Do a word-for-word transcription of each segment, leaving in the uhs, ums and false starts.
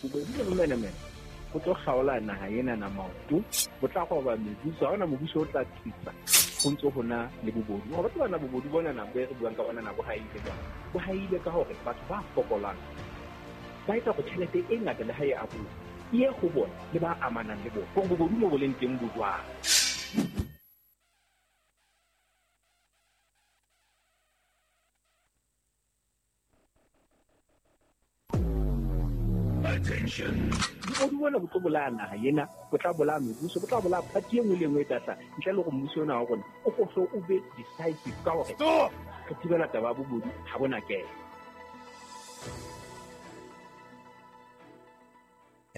Bobodu le bomenemene bo tlo kgaola naha ena na maoto, bo tla roba mebuso, ha hona mobuso o tla tsitsa ho ntso ho na le bobodu. Hore batho bana bobodu bona na bo re buang ka bona na bo haile jwang? Bo haile ka hore batho ba fokolang ba etsa hore tjhelete e ngata le ha e abuwa e ye ho bona le ba amanang le bona. Hore bobodu mo bo leng teng bo jwang? Attention. Bobodu bona bo tlo bolaya naha ena, bo tla bolaya mebuso, bo tla bolaya party e nngwe le e nngwe e tla hlaha. Ntle le hore mmuso ona wa rona o ko o be decisive ka hore Stop! re thibela taba ya bobodu ha bona kena.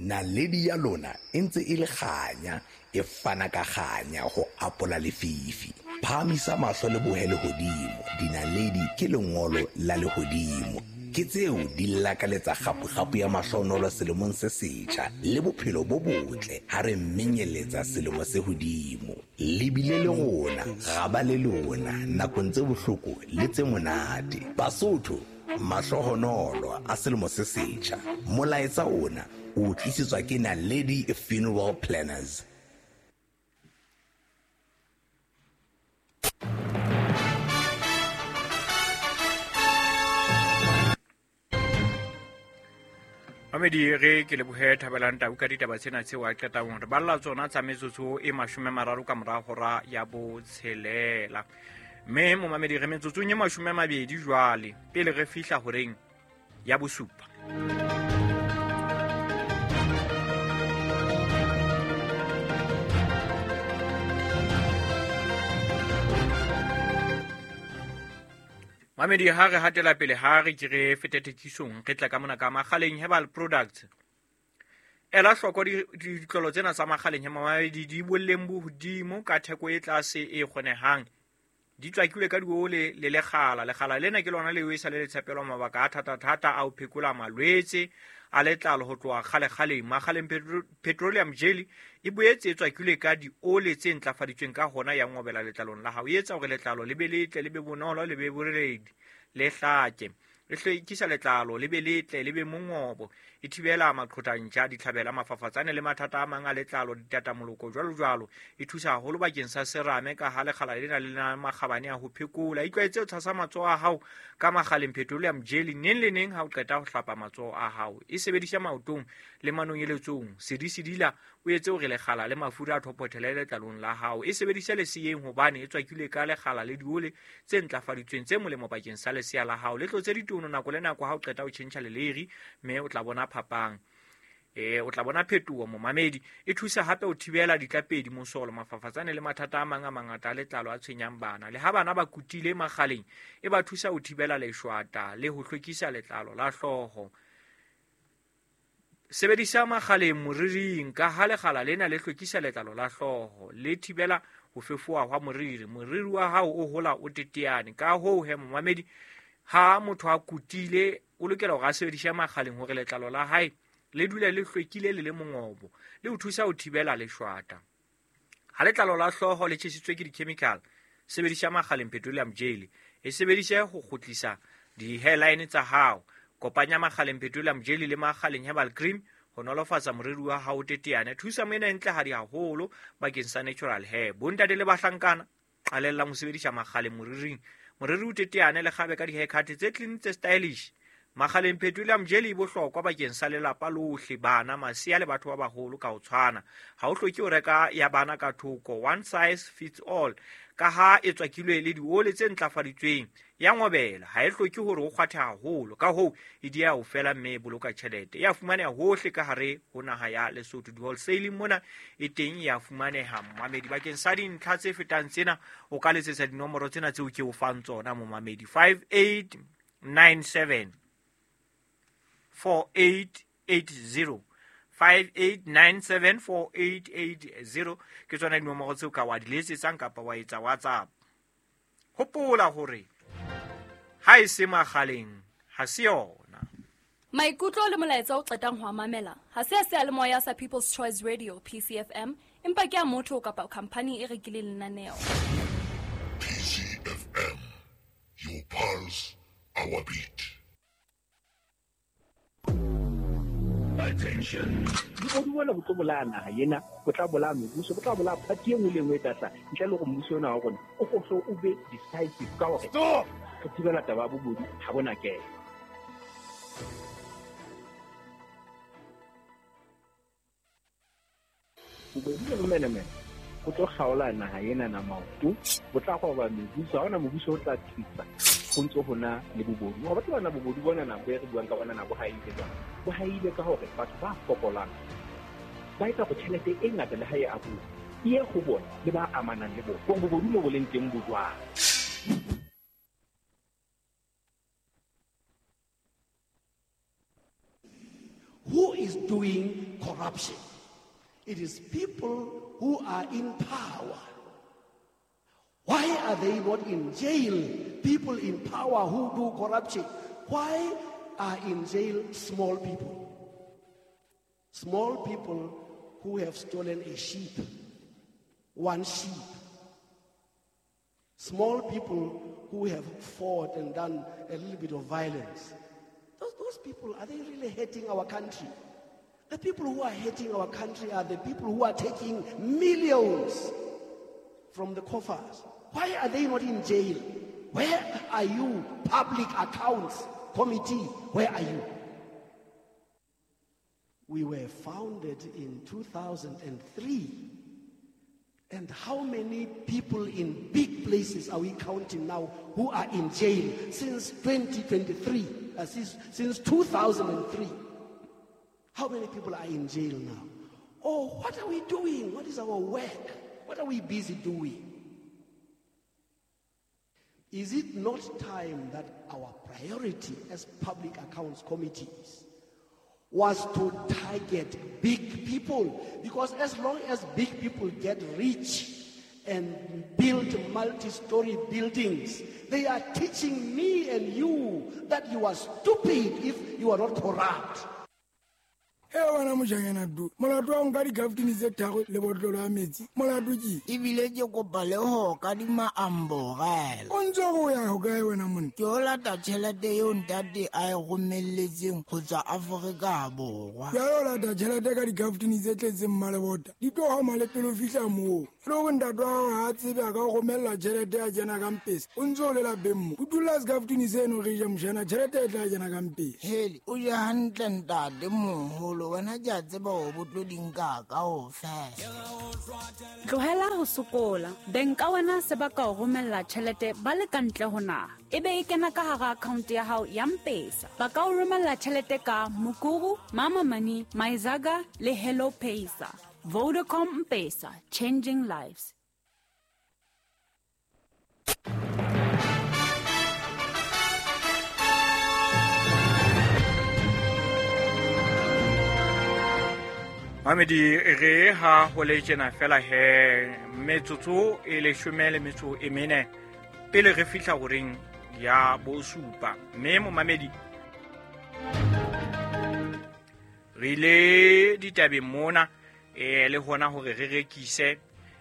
Naledi ya lona e ntse e le kganya, e fana ka kganya ho apola lefifi. Phahamisa mahlo le bohe lehodimo, dinaledi ke lengolo la lehodimo. Ke tseo di lakaletsa kgapu-kgapu ya mahlonolo selemong se setjha le bophelo bo botle ha re menyeletsa selemo se hodimo. Le bile le rona, ra ba le lona nakong tse bohloko le tse monate. Basotho, mahlohonolo a selemo se setjha. Molaetsa ona o tlisetswa ke Naledi Funeral Planners. Mamedi, re ke lebohe Thabelang Tau ka ditaba tsena tseo a qetang hore balla tsona tsa metsotso e mashome a mararo ka mora hora ya botshelela. Mme momamedi, re metsotsong e mashome a mabedi jwale pele re fihla horeng ya bosupa. Mamedi, ha re hatela pele, ha re ke re fete thekisong, re tla ka mona ka Makgaleng Herbal Products. Ela hloko ditlolo tsena tsa Makgaleng Herbal di boleng bo hodimo ka theko e tlase e kgonehang. Di tswakilwe ka diole le lekgala. Lekgala lena ke lona leo e sa le tshepelwa mabaka a thata-thata a ho phekola malwetse a letlalo ho tloha kgale-kgaleng. Makgaleng Petroleum Jelly e boetse e tswakilwe ka diole tse ntlafaditsweng ka hona ya ngobela letlalong la hao. E etsa hore letlalo le be letle, le be bonolo, le be boreledi, le hlake. E hlwekisa letlalo le be letle, le be mongobo. E thibela maqhotantja, ditlhabela, mafafatsane le mathata a mang a letlalo, ditatamoloko jwalo jwalo. E thusa haholo bakeng sa serame ka ha lekgala lena le na makgabane a ho phekola. Itlwaetse ho tshasa matsoho a hao ka Makgaleng Petroleum Jelly neng le neng ha o qeta ho hlapa matsoho a hao. E sebedisa maotong le manonyeletsong. Sedisedila o etse hore lekgala le mafura a thophothele letlalong la hao. E sebedisa leseyeng hobane e tswakilwe ka lekgala le diole tse ntlafaditsweng tse molemo bakeng sa lesea la hao. Le tlotse ditono nako le nako ha o qeta ho tjhentjha leleiri, mme o tla bona phapang. E, o tla bona phetoho momamedi. E thusa hape ho thibela ditlapedi, mosolo, mafafatsane le mathata a mang a mangata a letlalo a tshwenyang bana. Le ha bana ba kutile Makgaleng, e ba thusa ho thibela leshwata le ho hlwekisa letlalo la hlooho. Sebedisa Makgaleng moriring ka ha lekgala lena le hlwekisa letlalo la hlooho, le thibela ho fefowa hwa moriri. Moriri wa hao o hola o teteane. Ka hoo he momamedi, ha motho a kutile o lokela hore a sebedise Makgaleng hore letlalo la hae le dule le hlwekile le le mongobo, le ho thusa ho thibela leshwata. Ha letlalo la hlooho le tjhesitswe ke di-chemical, sebedisa Makgaleng Petroleum Jelly. E sebedise ho kgutlisa di-hairline tsa hao. Kopanya Makgaleng Petroleum Jelly le Makgaleng Herbal Cream ho nolofatsa moriri wa hao teteane. Thusa moena e ntlehadi haholo bakeng sa natural hair. Bontate le bahlankana, qalellang ho sebedisa Makgaleng moriring. Moriri o teteane le kgabe ka di-haircut tse clean, tse stylish. Makgaleng Petroleum Jelly e bohlokwa bakeng sa lelapa lohle, bana, masea le batho ba baholo ka ho tshwana. Ha o hloke ho reka ya bana ka thoko, one size fits all. Ka ha e tswakilwe le diole tse ntlafaditsweng, ya ngobela, ha e hloke hore o kgwathe haholo. Ka hoo e dieha ho fela mme e boloka tjhelete. E a fumaneha hohle ka hare ho naha ya Lesotho. Di-wholesaling mona e teng e a fumaneha momamedi. Bakeng sa dintlha tse fetang tsena, o ka letsetsa dinomoro tsena tseo ke o fang tsona momamedi. five eight nine seven four eight eight zero, five eight nine seven four eight eight zero ke tsona dinomoro tseo ka wa di letsetsang kapa wa etsa WhatsApp. Hopola hore ha e se Makgaleng ha se yona. Maikutlo le molaetsa o qetang ho a mamela ha se a seyalemoya sa People's Choice Radio P C F M, empa ke a motho kapa khampani e rekileng lenaneo. P C F M, your pulse, our beat. Attention. Bobodu bona bo tlo bolaya naha ena, bo tla bolaya mebuso, bo tla bolaya party e nngwe le nngwe e tla hlaha. Ntle le hore mmuso ona wa rona o ko o be decisive ka hore Stop! re thibela taba ya bobodu ha bona kena. Bobodu le bomenemene bo tlo kgaola naha ena na maoto, bo tla roba mebuso, ha hona mobuso o tla tsitsa ho ntso hona le bobodu. Hore batho bana bobodu bona na bo e re buang ka bona na bo haile jwang? Bo haile ka hore batho ba fokolang ba etsa hore tjhelete e ngata le ha e abuwa e ye ho bona le ba amanang le bona. Hore bobodu mo bo leng teng bo jwang? Who is doing corruption? It is people who are in power. Why are they not in jail? People in power who do corruption. Why are in jail small people? Small people who have stolen a sheep, one sheep. Small people who have fought and done a little bit of violence. Those, those people, are they really hating our country? The people who are hating our country are the people who are taking millions from the coffers. Why are they not in jail? Where are you, Public Accounts Committee? Where are you? We were founded in two thousand three. And how many people in big places are we counting now who are in jail since twenty twenty-three, uh, since, since two thousand three? How many people are in jail now? Oh, what are we doing? What is our work? What are we busy doing? Is it not time that our priority as public accounts committees was to target big people? Because as long as big people get rich and build multi-story buildings, they are teaching me and you that you are stupid if you are not corrupt. He wena mojanyana du molato wa nka dikaftini tse tharo le botlolo ya metsi molato ke ebile ke kopa le ho kadima amborela o ntse go ya ho kae wena monna ke o lata tjhelete eo ntate a e romelletseng ho tswa Afrika Borwa ya o lata tjhelete ka dikaftini tse tletseng mmalebota di tlo homa le pele o fihla moo le hore ntate wa hao ha a tsebe a ka o romella tjhelete ya kena ka mpesa o ntse o le lapeng mo o dula sekaftini seno re ja mojana tjhelete e tla kena ka mpesa hele o je hantle ntate moholo wena ke a tseba hore bo tlo di nka kaofela. Tlohela ho sokola. Beng ka wena se ba ka o romella tjhelete ba le ka ntle ho naha. Ebe e kena ka hara account ya hao ya M-Pesa. Ba ka o romella tjhelete ka Mukuru, Mama Money, Maizaga le Hello Pesa. Vodacom M-Pesa, changing lives. Mamedi re ha ho le tjena fela he metsotso e leshome le metso e mene pele re fihla horeng ya bosupa mme momamedi re ile ditabeng mona e le hona hore re rekise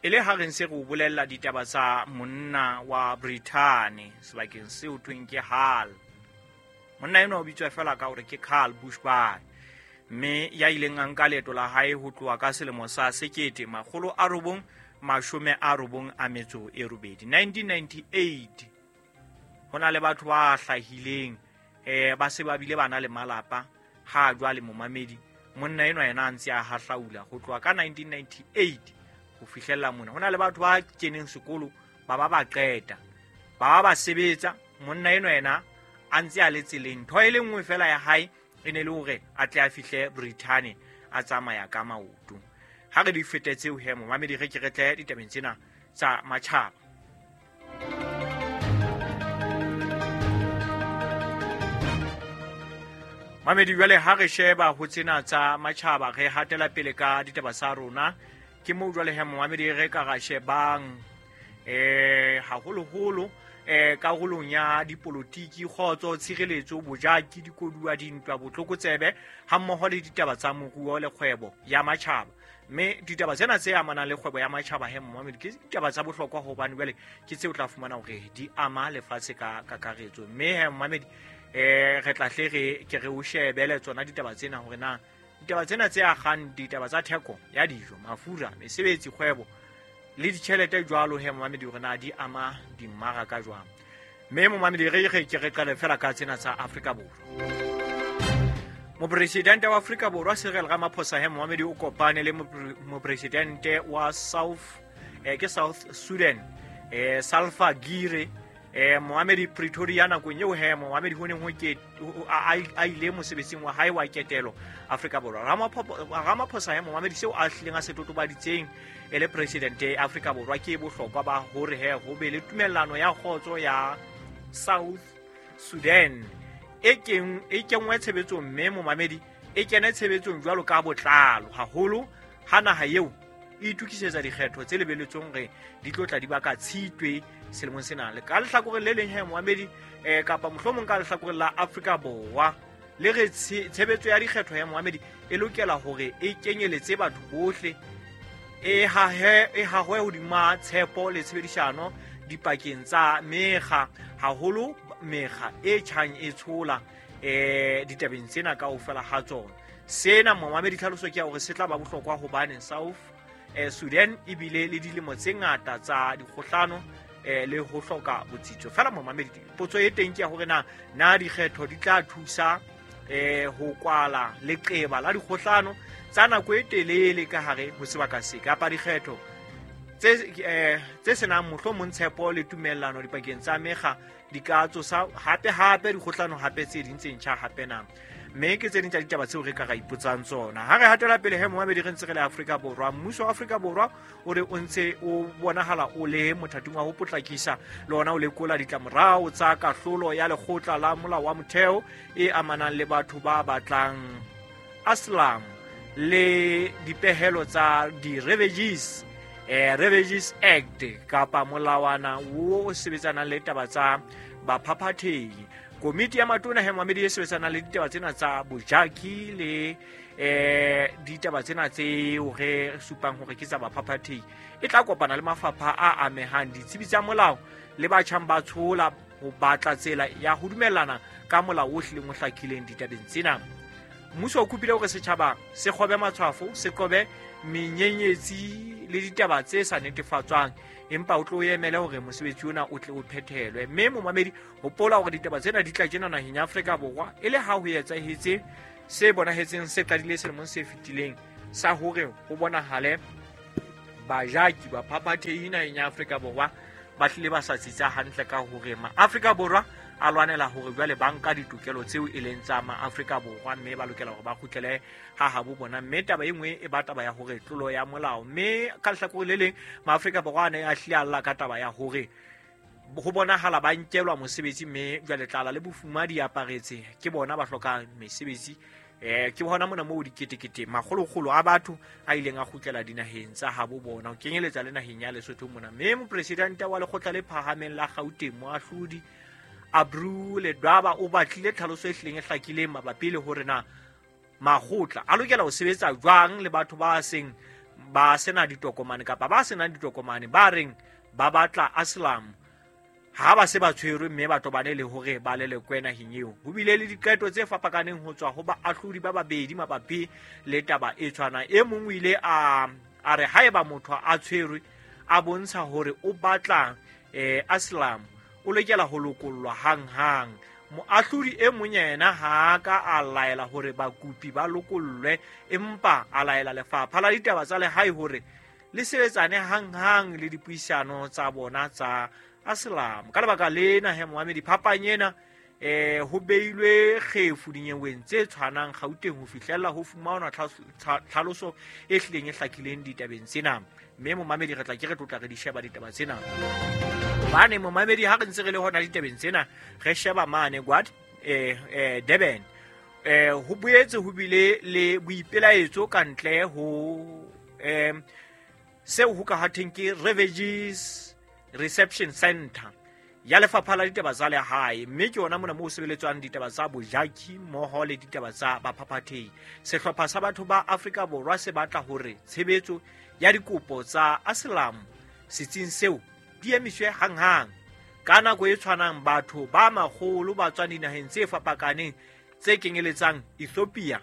e le ha re ntse re o bolella ditaba tsa monna wa Britain sebakeng seo thweng ke Hull. Monna enwa o bitswa fela ka hore ke Carl Bushby mme ya ileng a nka leeto la hae ho tloha ka selemo sa sekete makgolo a robong mashome a robong a metso e robedi nineteen ninety-eight. Ho na le batho ba hlahileng eh ba se ba bile ba na le malapa ha jwale momamedi monna enwa yena a ntse a hahlaula ho tloha ka nineteen ninety-eight ho fihlella mona. Ho na le batho ba keneng sekolo ba ba ba qeta ba ba ba sebetsa monna enwa yena a ntse a le tseleng ntho e le nngwe fela ya hae e ne le hore a tle a fihle Britain a tsamaya ka maoto. Ha re di fete tseo he momamedi re ke re tle ditabeng tsena tsa matjhaba. Mamedi jwale ha re sheba ho tsena tsa matjhaba re hatela pele ka ditaba tsa rona ke moo jwale he momamedi re ka ra shebang eh haholoholo eh karolong ya dipolotiki kgotso tshireletso bojaki dikoduwa dintwa botlokotsebe ha mmoho le ditaba tsa moruo le kgwebo ya matjhaba. Mme ditaba tsena tse amanang le kgwebo ya matjhaba he momamedi ke ditaba tsa bohlokwa hobane jwale ke tseo tla fumana hore di ama lefatshe ka kakaretso. Mme he momamedi eh re tla hle re ke re o shebele tsona ditaba tsena hore na Ditaba tsena tse akgang ditaba tsa theko ya dijo, mafura, mesebetsi, kgwebo le ditjhelete jwalo he momamedi hore na di ama dimmaraka jwang. Mme momamedi re re ke re qale fela ka tsena tsa Afrika Borwa. Mopresidente wa Afrika Borwa Cyril Ramaphosa he momamedi o kopane le mopresidente wa South eh, ke South Sudan eh, Salva Kiir eh Mohamedi Pretoria nakong eo he Mohamedi ho neng ho ke a ile mosebetsing wa hae wa ketelo Afrika Borwa. Ramaphosa he Mohamedi seo a hlileng a se totobaditseng e le president ya Afrika Borwa ke bohlokwa ba hore he ho be le tumellano ya kgotso ya South Sudan e keng e kengwe tshebetsong mme Mohamedi e kene tshebetsong jwalo ka botlalo haholo ha naha eo e itukisetsa dikgetho tse lebeletsweng re di tlotla di baka tshitwe selemong sena. Le ka lehlakoreng le leng he Mohamedi eh kapa mohlomong ka lehlakoreng la Afrika Borwa le re tshebetso ya dikgetho ya Mohamedi e lokela hore e kenyeletse batho bohle e hahe e hahwe hodima tshepo le tshebedisano dipakeng tsa mekga haholo mekga e tjhang e tshola eh ditabeng tsena kaofela ha tsona. Sena Mohamedi tlhaloso ke ya hore se tla ba bohlokwa hobane South eh Sudan ebile le dilemo tse ngata tsa dikgohlano eh le ho hloka botsitso. Fela momamedi potso e teng ke ya hore na na dikgetho di tla thusa eh ho kwala leqeba la dikgohlano tsa nako e telele ka hare ho sebaka se kapa dikgetho tse eh tse senang mohlomong tshepo le tumellano dipakeng tsa mekga di ka tsosa hape hape dikgohlano hape tse ding tse ntjha hape na. Mme ke tse ding tsa ditaba tseo re ka ra ipotsang tsona. Ha re hatela pele he Mohamedi re ntse re le Afrika Borwa. Mmuso wa Afrika Borwa o re o ntse o bonahala o le mothating wa ho potlakisa le ona o lekola ditlamorao tsa kahlolo ya lekgotla la molao wa motheo e amanang le batho ba batlang asylum le dipehelo tsa di-refugees eh, Refugees Act kapa molawana wo o sebetsanang le taba tsa baphaphathehi. Komiti ya matona he Mohamedi e sebetsanang le ditaba tsena tsa bojaki le eh ditaba tsena tseo re supang hore ke tsa baphaphathehi e tla kopana le mafapha a amehang, ditsebi tsa molao le batjhang ba tshola ho batla tsela ya ho dumellana ka molao o hlileng o hlakileng ditabeng tsena. Mmuso o kopile hore setjhaba se kgobe matshwafo, se qobe menyenyetsi le ditaba tse sa netefatswang, empa o tlo emele hore mosebetsi ona o tle o phethelwe. Mme momamedi hopola hore ditaba tsena di tla tjena naheng ya Afrika Borwa e le ha ho etsahetse se bonahetseng se qadile selemong se fetileng sa hore ho bonahale bajaki ba phaphathehi naheng ya Afrika Borwa ba hlile ba sa tsitsa hantle ka hore ma Afrika Borwa a lwanela hore jwale ba nka ditokelo tseo e leng tsa ma Afrika Borwa mme ba lokela hore ba kgutlele ha habo bona. Mme taba e nngwe e ba taba ya hore tlolo ya molao, mme ka lehlakore le leng ma Afrika Borwa a ne a hlile a lla ka taba ya hore ho bonahala ba nkelwa mosebetsi mme jwale tlala le bofuma di aparetse ke bona ba hlokang mesebetsi. Eh ke hona mona moo diketekete makgolokgolo a batho a ileng a kgutlela dinaheng tsa habo bona ho kenyeletsa le naheng ya Lesotho mona. Mme mopresidente wa lekgotla le phahameng la Gauteng moahlodi Abru Ledwaba o batlile tlhaloso e hlileng e hlakileng mabapi le hore na makgotla a lokela ho sebetsa jwang le batho ba seng ba sena ditokomane kapa ba senang ditokomane ba reng ba batla asylum ha ba se ba tshwerwe mme ba tobane le hore ba lelekwe naheng eo. Ho bile le diqeto tse fapakaneng ho tswa ho baahlodi ba babedi mabapi le taba e tshwanang. E mong o ile a a re haeba motho a tshwerwe a bontsha hore o batla eh asylum o lokela ho lokollwa hanghang. Moahlodi e mong yena ha ka a laela hore bakopi ba lokollwe, empa a laela lefapha la ditaba tsa lehae hore le sebetsane hanghang le dipuisano tsa bona tsa asylum. Ka lebaka lena he Mohamedi phapang ena eh ho beilwe kgefu dinyeweng tse tshwanang Gauteng ho fihlella ho fumanwa tlhaloso e hlileng e hlakileng ditabeng tsena. Mme momamedi re tla ke re tlotla re di sheba ditaba tsena. Hobane momamedi ha re ntse re le hona ditabeng tsena re sheba mane Gwad eh eh Durban eh ho boetse ho bile le boipelaetso ka ntle ho eh seo ho ka hatheng ke Refugees Reception Center ya lefapha la ditaba tsa lehae, mme ke yona mona moo sebeletswang ditaba tsa bojaki mmoho le ditaba tsa baphaphathehi. Sehlopha sa batho ba Afrika Borwa se batla hore tshebetso ya dikopo tsa asylum setsing seo di emiswe hanghang. Ka nako e tshwanang batho ba makgolo ba tswang dinaheng tse fapakaneng tse kenyeletsang Ethiopia,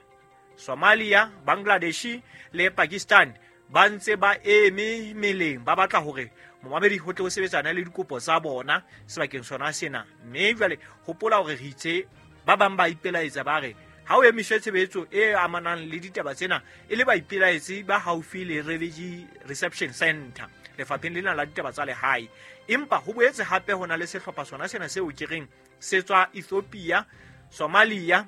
Somalia, Bangladesh le Pakistan ba ntse ba eme meleng ba batla hore momamedi ho tle ho sebetsana le dikopo tsa bona sebakeng sona sena. Mme jwale hopola hore re itse ba bang ba ipelaetsa ba re ha o emiswe tshebetso e amanang le ditaba tsena e le baipelaetsi ba haufi le Refugee Reception Center lefapheng lena la ditaba tsa lehae. Empa ho boetse hape ho na le sehlopha sona sena seo ke reng se tswa Ethiopia, Somalia,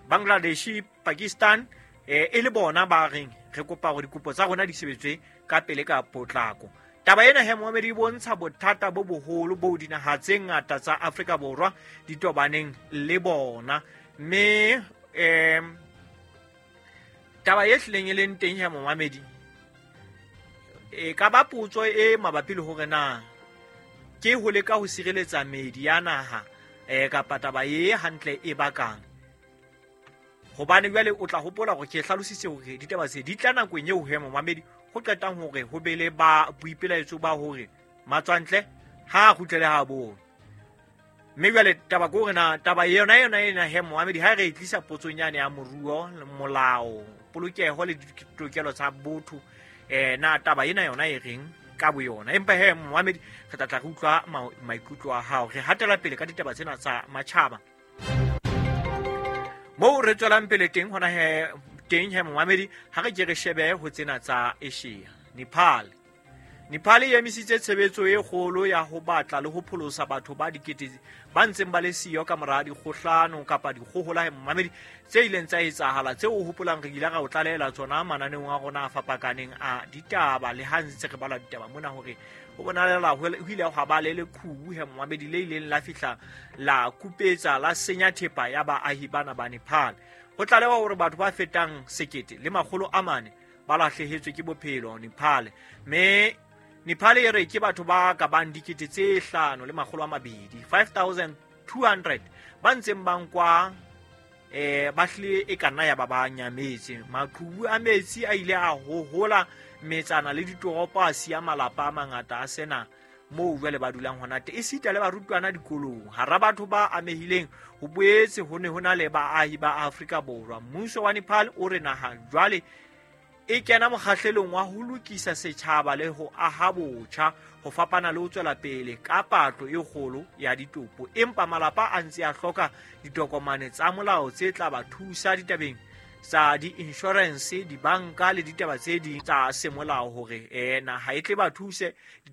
Bangladesh, Pakistan e e le bona ba reng re kopa hore dikopo tsa rona di sebetswe ka pele ka potlako. Taba ena he momamedi e bontsha bothata bo boholo bo dinaha tse ngata tsa Afrika Borwa di tobaneng le bona. Mme em taba e hlileng e leng teng he momamedi e ka ba potso e mabapi le hore na ke ho leka ho sireletsa meedi ya naha eh kapa taba e hantle e bakang. Hobane jwale o tla hopola hore ke hlalositse hore ditaba tse di tla nakong eo he momamedi ho qetang hore ho be le ba boipelaetso ba hore matswantle ha a kgutlele ha bo. Mme jwale taba ke hore na taba yona yona ena he momamedi ha re e tlisa potsong yane ya moruo, molao, polokeho le ditokelo tsa botho eh na taba ena yona e reng ka boyona. Empa he momamedi re tla tla re utlwa maikutlo a hao. Re hatela pele ka ditaba tsena tsa matjhaba. Moo re tswelang pele teng hona he teng he momamedi ha re ke re shebe ho tsena tsa Asia. Nepal. Nepal e emisitse tshebetso e kgolo ya ho batla le ho pholosa batho ba dikete ba ntseng ba le siyo ka mora dikgohlano kapa dikgohola he momamedi tse ileng tsa etsahala tseo o hopolang re ile ra o tlalehela tsona mananeong a rona a fapakaneng a ditaba. Le ha ntse re bala ditaba mona hore ho bonahala ho ile hwa ba le leqhubu he momamedi le ileng la fihla la kupetsa la senya thepa ya baahi bana ba Nepal. Ho tlalewa hore batho ba fetang sekete le makgolo a mane ba lahlehetswe ke bophelo Nepal. Mme Nepal e re ke batho ba ka bang dikete tse hlano le makgolo a mabedi five thousand two hundred ba ntseng ba nkwa eh ba hlile e ka nna ya ba ba nyametse. Maqhubu a metsi a ile a hohola metsana le ditoropo a siya malapa a mangata a sena moo jwale ba dulang hona teng, esita le barutwana dikolong. Hara batho ba amehileng ho boetse ho ne ho na le baahi ba Afrika Borwa. Mmuso wa Nepal o re naha jwale e kena mokgahlelong wa ho lokisa setjhaba le ho aha botjha ho fapana le ho tswela pele ka patlo e kgolo ya ditopo. Empa malapa a ntse a hloka ditokomane tsa molao tse tla ba thusa ditabeng tsa di-insurance, dibanka le ditaba tse ding tsa semolao hore eh naha e tle ba thuse ditabeng